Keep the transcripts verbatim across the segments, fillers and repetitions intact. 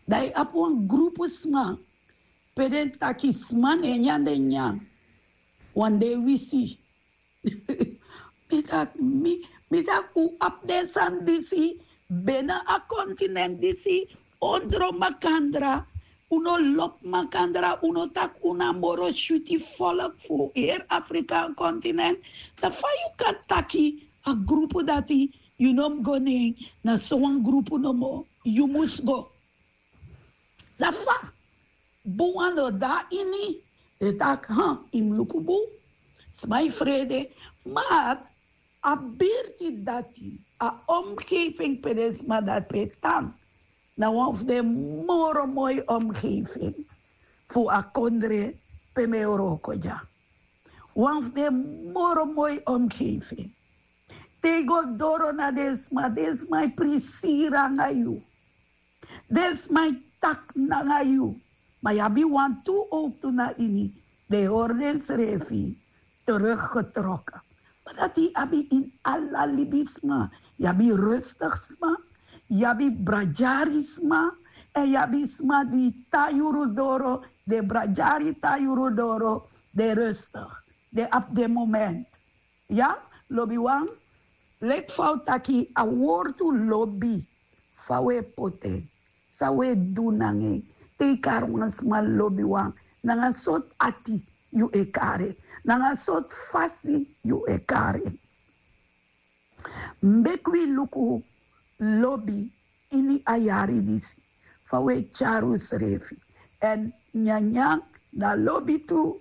Dan yu abi wan grupu sma pe den taki sma na e nyan den nyan. Wan de wisi. Mi taki mi mi taki un abi den sani disi bena a kontinent disi, ondro makandra. Un no lobi makandra, un no taki un na moro switi folk fu heri Afrikaan kontinent. Dan fa yu kan taki a grupu dati yu no mus go na en? Na sowan grupu nomo yu mus go. Dan fa bun wan no de na ini. Den taki ha yu mus luku bun. Sma e frede. Mar a birti dati, a omgeving pe den sma dati pe tan, na wan fu den moro moi omgeving fu a kondre pe mi e wroko dya. Wan fu den moro moi omgeving. Te yu go doro na den sma, den sma e prisiri nanga yu. Den sma e taki nanga yu. Ma yu abi wantu owktu na ini, den e hori densrefi teruggetrokken. Ma dati yu abi ini ala libisma. Yu abi rustig sma, yu abi bradyari sma, èn yu abi sma di tan yuru doro. Den bradyari tan yuru doro, den rustig, den abi den moment. Ya, lobiwan, leki fa un taki a wortu lobi, fa un e poti en, san un e du nanga en. Te yu kari wan sma lobiwan, nanga sortu ati yu e kari en, nanga sortu fasi yu e kari en. Meki wi luku lobi ini a yari disi, fa un e tyari unsrefi. Èn nyanyan na lobi tu.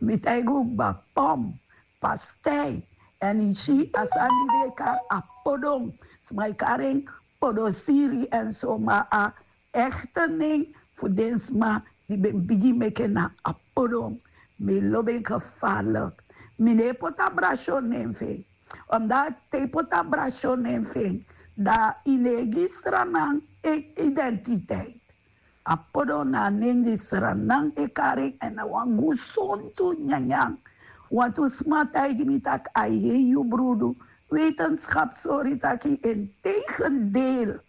Mi taigi un kba, pom, pastei, èn yu si a sani di den e kari apodon. Sma e kari en podosiri èn so, ma a ekte nen fu den sma di ben bigin meki en na apodon. Mi lobi en gefarlik. Mi no e poti a brasyon nen fu en. Omdat te yu poti a brasyon nen fu en, dan yu no e gi Sranan identiteit. Apodon na a nen di Sranan e kari en, èn na wan gesontu nyanyan. Wantu sma taigi mi taki a e hei yu brudu. Wetenschap sori taki integendeel,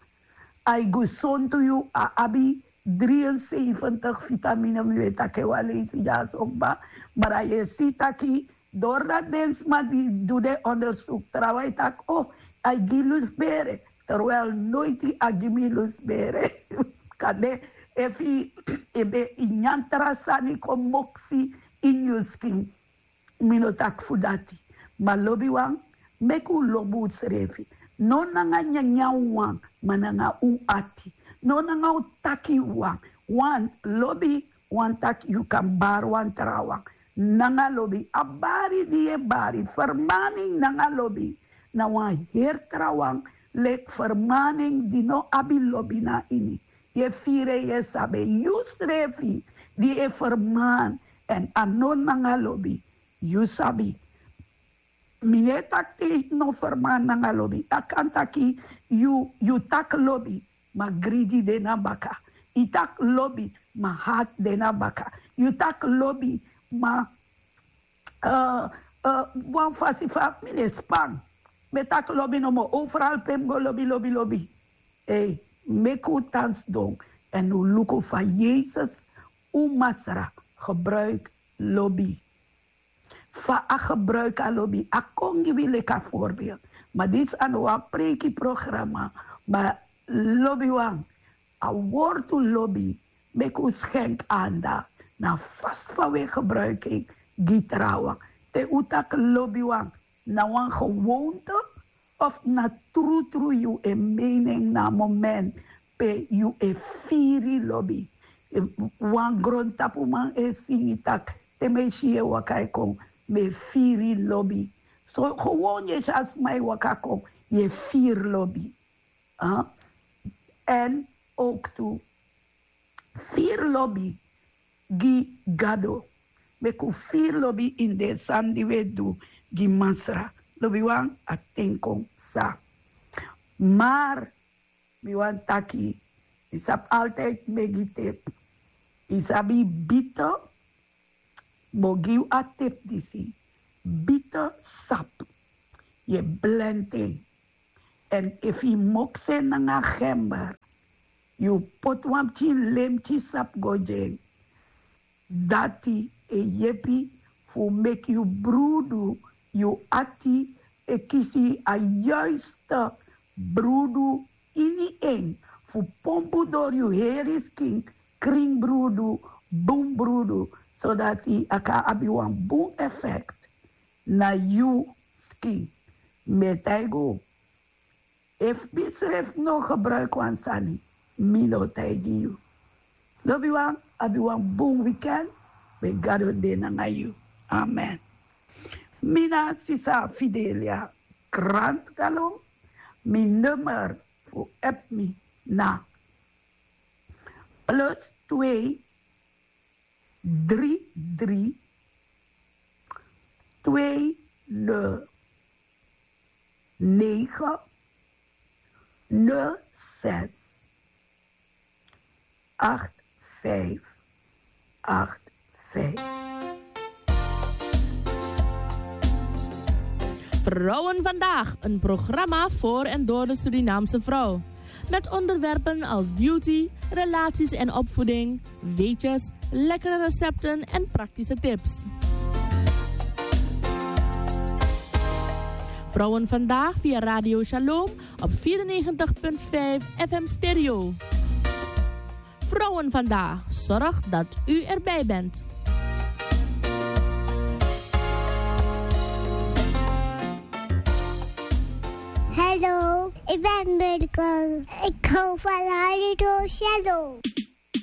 a e gesontu yu, a abi drieënzeventig vitamine, mi weet taki wan leisi dya so kba. Maar a e si taki doordat den sma di du den onderzoek, trawan e taki, oh, a e gi lusbere, terwijl noiti a gi mi lusbere. Kande efu yu ben e nyan tra sani kon moksi ini yu skin. Mi no taki fu dati. Ma lobiwan, meki un lobi unsrefi. No nanga nyanyan wawan, ma nanga un ati. No nanga un taki wawan. Wan lobi, wan taki yu kan bari wan trawan nanga lobi. A bari di yu e bari, fermaning nanga lobi, na wan heri trawan leki fermaning di no abi lobi na ini. Yu e firi en, yu e sabi en, yusrefi di e ferman, èn a no nanga lobi. Yu sabi, mi no e taki te yu no ferman nanga lobi. A kan taki yu yu taki lobi, ma gridi de na baka. Yu taki lobi, ma hati de na baka. Yu taki lobi, ma eh, eh, wan fasi fa mi no e span. Mi e taki lobi nomo, overal pe mi go lobi, lobi, lobi. Ei, meki un tan sidon èn un luku fa Yesus, un Masra, gebruik lobi. Fa a gebruik a lobi, a kon gi wi leki a voorbeeld. Ma disi a no wan preiki programma, ma lobiwan, a wortu lobi, meki un skenk aandacht na a fasi fa un e gebruik en gi trawan. Te un taki lobiwan, na wan gewoonte of na trutru yu e meni en na a moment pe yu e firi lobi? Wan grontapuman e singi taki, te mi e si yu e waka e kon, mi e firi lobi. So gewoon yu e si a sma e waka kon, yu e firi lobi. Èn owktu, firi lobi gi Gado. Meki un firi lobi ini den sani di un e du gi Masra. Lobiwan, a ten kon psa. Mar mi wani taki, yu sabi, altijd mi e gi tep. Yu sabi, bito, mi o gi yu a tep disi. Bito sapu, yu e blend en. Èn efu yu moksi en nanga gember, yu poti wan pikin lemki sabi go gi en. Dati e yepi fu meki yu brudu, yu ati e kisi a yuiste brudu ini en, fu pompu dori yu heri skin, krin brudu, bun brudu, sodati a kan abi wan bun efekti na yu skin. Mi e taigi unu, efu mi srefi no gebruiki wan sani, mi no o taigi yu. Lobiwan, abi wan bun weekend. Meki Gado de nanga yu. Amen. Mi na sisa Fidelia Grant Galon. Mi nummer fu app mi na plus twee drie drie twee nul negen nul zes acht vijf acht vijf. Vrouwen Vandaag, een programma voor en door de Surinaamse vrouw. Met onderwerpen als beauty, relaties en opvoeding, weetjes, lekkere recepten en praktische tips. Vrouwen Vandaag via Radio Shalom op vierennegentig punt vijf F M Stereo. Vrouwen Vandaag zorgt dat u erbij bent. Hallo, ik ben Mirko. Ik hou van Radio Shalom.